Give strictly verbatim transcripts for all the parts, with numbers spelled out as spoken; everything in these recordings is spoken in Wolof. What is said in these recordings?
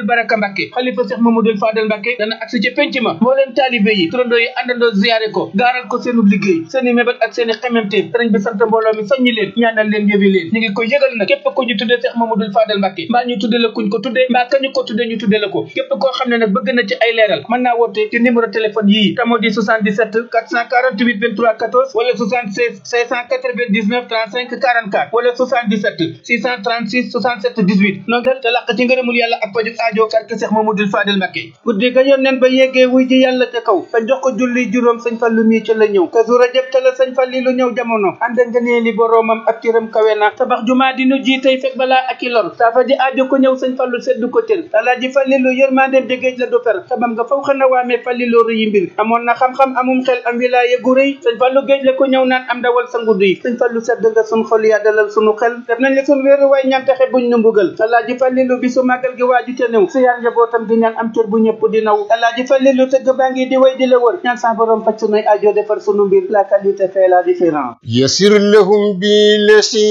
Baraka Mbacke xalifa Cheikh Mamadou Fadel Mbacke dana agsi ci penc ma mbooleem taalibe yi turandoo yi àndandoo ziyaare ko gaaral ko seenu liggéey seeni mébét ak seeni xememte sëriñ bi sant mbooloo mi soññi leen ñaanal leen yëwi leen ñu ngi koy yëgal nag képp ku ñu tuddee Cheikh Mamadou Fadel Mbacke mbaa ñu tudde la kuñ ko tuddee mbaa kañu ko tuddee ñu tudde la ko képp koo xam ne nag bëgg na ci ay leeral mën naa woote ci numéro téléphone yii tamo di soixante-dix-sept quatre cent quarante-huit vingt-trois quatorze wala soixante-seize cinq cent quatre-vingt-dix-neuf trente-cinq quarante-quatre wala soixante-dix-sept six cent trente-six soixante-sept dix-huit noonu te làq ci ngërëmul yàlla ak paju aajo karke Cheikh Mamadou Fadel Mbacke guddi ga yónneen ba yeggee wuy ji yàlla ca kaw te jox ko julli juróom sëñ Fallu mi ca la ñëw Kazu Rajab ca la sëñ Falli lu ñëw jamono ànd nga nee li boroomam ak tiram kawe na tabax jumaa di nu ji tey fekk balaa ak i lor saafa ji aajo ko ñëw sëñ Fallu seddu ko tër alaaji Fallilu yërmandeem jegéej la du fer xamam nga faw xana waamee Fallilu rëyi mbir amoon na xam-xam amum xel am wilaaye gu rëy sëñ Fallu géej la ko ñëw naan am dawal sa ngudd yi sëñ Fallu sedd nga sun xol yaa dalal sunu xel def nañ la sun wéeru waay ñaan taxe buñ nu mbugal alaaji Fallilu bi su màggal gi waaju te néew si yaan njabootam di ñaan am cër bu ñëpp di naw alaaji Fallilu tëgg baa ngi di way di la wër ñaan sa borom faj sunuy aajo defar sunu mbir la qualité fait la différence yasir lahum bi lesi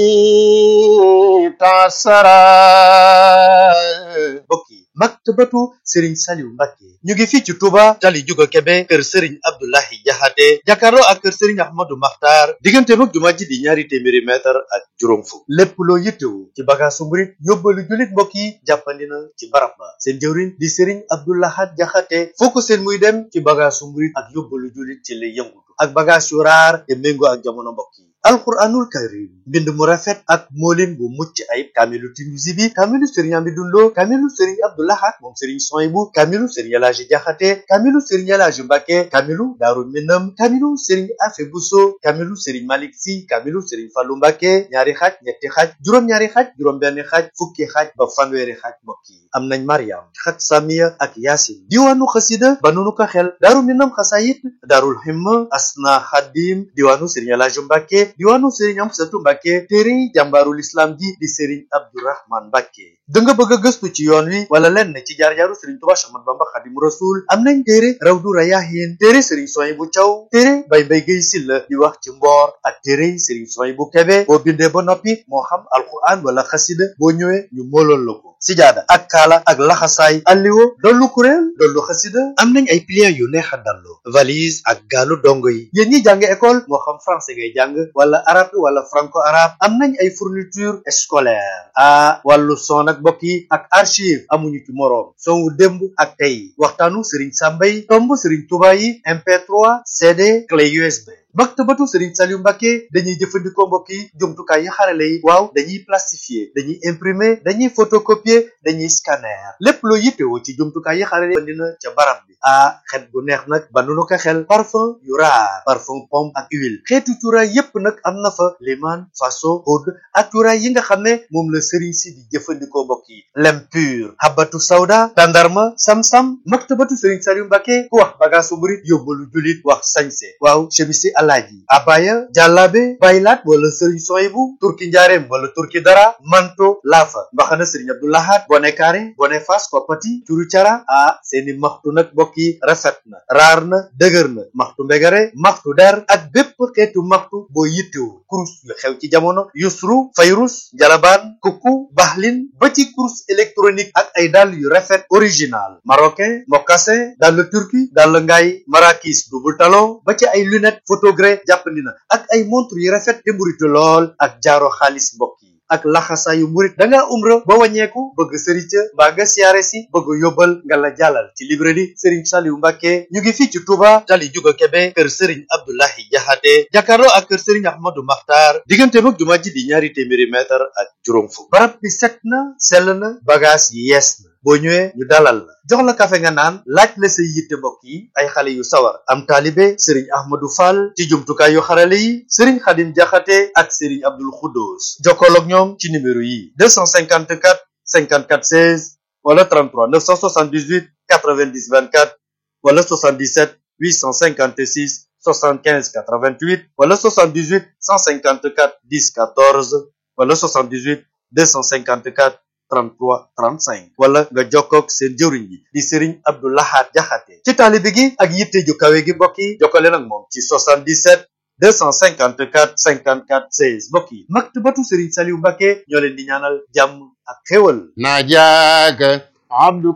tasara bokki maktabatu Serigne Saliou Mbacke ñu ngi fii ci Touba tali juga Kebe kër Serigne Abdoulahi Jaxate jàkkaarloo ak kër Serigne Ahmadou Makhtar diggante mag jumaa ji di ñaari téeméeri mètre ak juróom fukk lépp loo yittewu ci bagaasu murit yóbbalu julit mbokk yi jàppandi na ci barab ba seen jëwriñ di Serigne Abdoulahat Jaxate foo ko seen muy dem ci bagaasu murit ak yóbbalu julit ci lay yëngutu ak bagaas yu raar te méngoo ak jamono mbokk yi alquranul karim mbind mu rafet ak moolin bu mucc ayib kaamilu Tinuusi bi kaamilu Serigne Amidou Lo kaamilu Serigne Abdoulahat moom Serigne Soyibu kaamilu Serigne Elaaji Jaxate kaamilu Serigne Elaaji Mbacke kaamilu Daaru Minam kaamilu Serigne Afe Buso kaamilu Serigne Malick Si kaamilu Serigne Fallu Mbacke ñaari xaaj ñetti xaaj juróom-ñaari xaaj juróom-benn xaaj fukki xaaj ba fanweeri xaaj mbokk yi am nañ Mariam xat Samiya ak Yaasin diwaanu xasida ba nunu ko xel Daaru Minam xasayit Daarul Himma Asna Xadim diwaanu Serigne Elaaji Mbacke diwaanu Serigne Amsatu Mbacke téere jàmbaarul islam ji di Serigne Abdourahman Mbacke da nga bëgg a gëstu ci yoon wi wala lenn ci jaar-jaaru Serigne Touba Cheikh Ahmadou Bamba Xaadimu Rasuul am nañ téere Rawdu Rayaahiin téere Serigne Souhaïbou Thiaw téere Baye Mbaye Guèye Sylla di wax ci mboor ak téere Serigne Souhaïbou Kébé boo bindee ba noppi moo xam alquran wala xasida boo ñëwee ñu moolool la ko sijaada ak kaala ak laxasaay alliwo dollu kuréel dollu xasida am nañ ay pliants yu neex a dallu valise ak gaalu dongo yi yéen ñi jàng école moo xam français ngay jàng wala arabe wala franco arabe am nañ ay fourniture scolaire a wàllu son ak mbokk yi ak archive amuñu ci moroom son wu démb ak tey waxtaanu Serigne Sambay tomb Serigne Touba yi M P trois C D clé U S B maktabatu Serigne Saliou Mbacke dañuy jëfandikoo mbokk yi jumtukaay yi xarale yi waaw dañuy plastifier dañuy imprimer dañuy photocopier dañuy scanner lépp loo yittewoo ci jumtukaay yi xarale yi dina ca barab bi ah xet bu neex nag ba nu ko xel parfum yu raar parfum pomme ak huile xeetu cuuraay yépp nag am na fa liman faso oud ak cuuraay yi nga xam ne moom la Serigne si di jëfandikoo mbokk yi lem pur habatu sawda tandarma sam-sam maktabatu Serigne Saliou Mbacke ku wax bagaasu murit yóbbalu julit wax sañse waaw chemisi alaaji abaya jàllaabe baylaat wala Serigne Souhaïbou turki njaareem wala turki dara manto laafa mbaxana Serigne Abdoulahat bone kaare bone fas koppati curu cara ah seeni maxtu nag mbokk yi rafet na raar na dëgër na maxtu mbegare maxtu der ak bépp xeetu maxtu boo yittewu kurus yu xew ci jamono yusru fayrus jalabaan kuku baxlin ba ci kurus électronique ak ay dàll yu rafet original marocain mocassin dàll turki dàll ngaay marakis double talon ba ci ay lunette photogré jàppandi na ak ay montre yu rafet te mburitu lool ak jaaro xaalis mbokk yi ak laxasaayu murit da ngaa umra ba wàññeeku bëgg sëriñ ca mbaa nga siyaare si bëgg yóbbal nga la jàllal ci librairie Serigne Saliou Mbacke ñu ngi fii ci Touba tali juga Kebe kër Serigne Abdoulahi Jaxate jàkkaarloo ak kër Serigne Ahmadou Makhtar diggante mag jumaa ji di ñaari téeméeri mètre ak juróom fukk barab bi set na sell na bagage yi yees na boo ñëwee ñu dalal la jox la kafe nga naan laaj la say yitte mbokk yi ay xale yu sawar am taalibe Serigne Ahmadou Fall ci jumtukaay yu xarale yi Serigne Khadim Jaxate ak Serigne Abdoul Khoudous jokkool ak ñoom ci numéro yi deux cent cinquante-quatre cinquante-quatre seize wala trente-trois neuf cent soixante-dix-huit quatre-vingt-dix vingt-quatre wala soixante-dix-sept huit cent cinquante-six soixante-quinze quatre-vingt-huit wala soixante-dix-huit cent cinquante-quatre dix quatorze wala soixante-dix-huit deux cent cinquante-quatre trente-trois trente-cinq wala nga jokkoog seen jëwriñ bi di Serigne Abdoulahat Jaxate ci taalibe gi ak yitte ju kawe gi mbokk yi jokkale nag moom ci soixante-dix-sept deux cent cinquante-quatre cinquante-quatre seize mbokk yi maktabatu Serigne Saliou Mbacke ñoo leen di ñaanal jàmm ak xéwal najaaka abduka